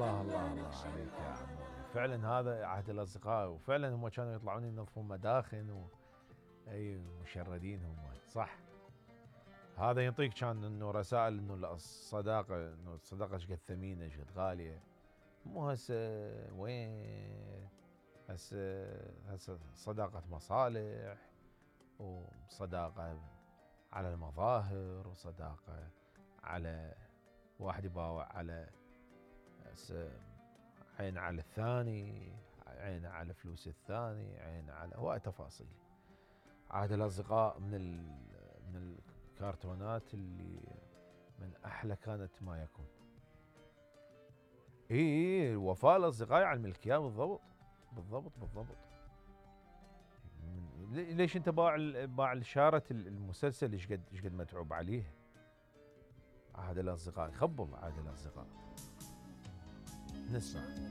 الله الله الله عليك يا عموري، فعلا هذا عهد الاصدقاء، وفعلا هم كانوا يطلعون ينظفون مداخن اي مشردين هم، صح. هذا يعطيك كان انه رسائل انه الصداقه، انه الصداقه ايش قد ثمينه ايش قد غاليه. مو هسه وين، هسه صداقه مصالح، وصداقه على المظاهر، وصداقه على واحد يباوع على عين على الثاني، عين على فلوس الثاني، عين على هواي تفاصيل. عهد الاصدقاء من الكرتونات اللي من احلى كانت ما يكون. اي وفاء الاصدقاء يعلم الكيان بالضبط بالضبط بالضبط. ليش انت باع شارة المسلسل ايش قد متعوب عليه. عهد الاصدقاء، خبل عهد الاصدقاء. نسمع.